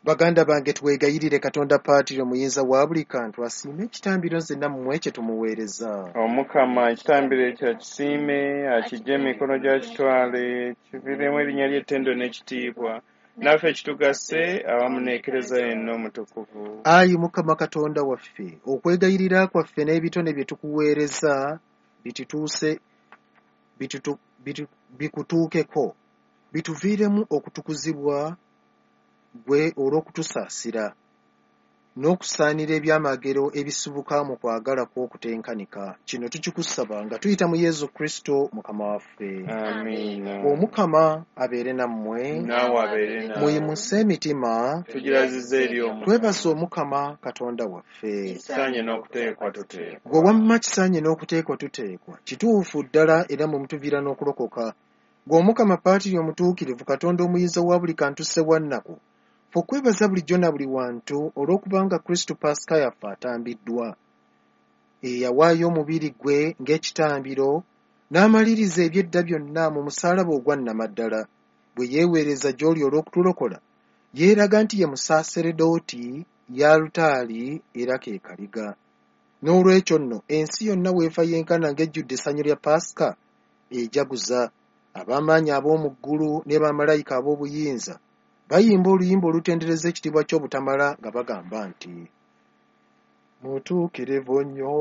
Baganda bange, twegayirire Katonda Paatiri Omuyinza wa buli kantu asiime ekitambiro nze nammwe kye tumuweereza. Omukama ekitambiro ekyo akisiime, akiggye mu mikono gy'akitwale, kiviiremu erinnya lye ettendo n'ekitiibwa, naffe kitugase awamu n'Ekereziya yenna omutukuvu. Ayi Mukama Katonda waffe, okwegayirira kwaffe n'ebitone bye tukuweereza bikutuukeko, bituviiremu okutukuzibwa ggwe olw'okutusaasira, n'okusaanira ebyamagero ebisibuka mu kwagala kwo okutenkanika. Kino tukikusaba nga tuyita mu Yezu Kristo Mukama waffe. Amiina. Omukama abeere nammwe. Naawe abeere naawe. Muyimuse emitima. Tugirazizza eri Omukama. Twebaze Omukama Katonda waffe. Kisaanye n'okuteekwa tuteekwa. Ggwe wamma kisaanye n'okuteekwa tuteekwa. Kituufu ddala era mwe mutuviira n'okulokoka. Ggwe Omukama Paatiri Omutuukirivu, Katonda Omuyinza wa buli kantu Ssewannaku, ffe okwebaza bulijjo na buli wantu olw'okubanga Kristo Paasika yaffe atambiddwa. Eyawaayo omubiri gwe ng'ekitambiro n'amaliriza eby'edda byonna mu musaalaba ogwa nnamaddala, bwe yeeweereza gy'oli olw'okutulokola, yeeraga nti ye musaaseredooti y'alutaari era ke kaliga. Noolwekyo nno ensi yonna weefa yenkana ng'ejjudde essanyu lya Paasika ejaguza. Ab'amaanyi ab'omu ggulu ne bamalayika ab'obuyinza bayimba oluyimba olutendereza ekitiibwa ky'obutamala nga bagamba nti, Mutuukirivu nnyo.